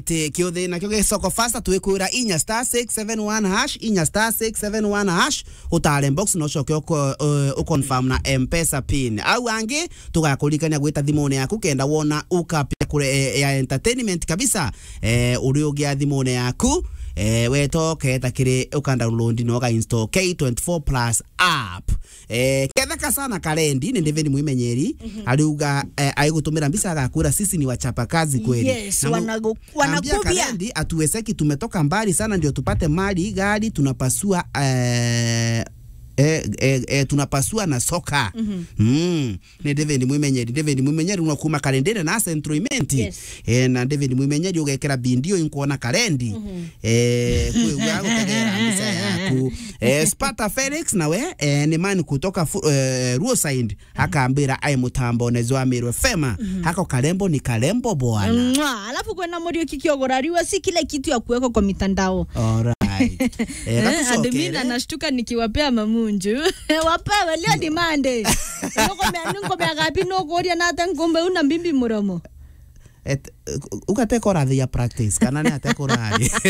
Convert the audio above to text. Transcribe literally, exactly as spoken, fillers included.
Ati kiuthi nakio gi Soko Fasta, twikwira inya star six seven one hash, inya star six seven one hash, utare box na ucoke uko-, eh, uconfirm na M-Pesa pin. Au angi, tugakuririkania gwita thimune yaku kenda wona ukapia kure, eh, ya entertainment kabisa. Eh, uri ugia thimune yaku, eh, weta uketa kiri uka download na uka install K twenty-four plus app. Eh, ketheka sana Karendi, ni David Mwimenyeri, ariuga, eh, aigutumira mbica agakwira, "Sisi ni wachapa kazi kweli." Yes, Na mu-, wanagu-, ambia wanakubia. Karendi, "Hatuwezeki, tumetoka mbali sana ndio tupate mali, gari, tunapasua, eh, eh, eh, eh, tunapasua na soka." Mm. Ni David Mwimenyeri. David Mwimenyeri no kuma Karendire na Central Imenti. Yes. Eh, na David Mwimenyeri ugekira bindio inkuona Karendi. Eh, kwigua gutegera mbica yaku. Eh, Sparta Felix nawe, eh, ni man kutoka fu-, eh, Ruoside, akambira ai mutambone jwa Meru F M. Hako karembo ni karembo bwana. Mwa, alafu kwena Muriuki Kiogora, ariwa si kila kitu ya kuweka kwa mitandao. Alright. Eh, Eh, gatucokere. Admin anashtuka nikiwapea mamunju. Wapewe, leo ni Monday. Nukumea, nukumea gapi nukuria na ata nkumbe una mbimbi muromo. Et-, u-, ugatekora the practice, kana ni atekora ari.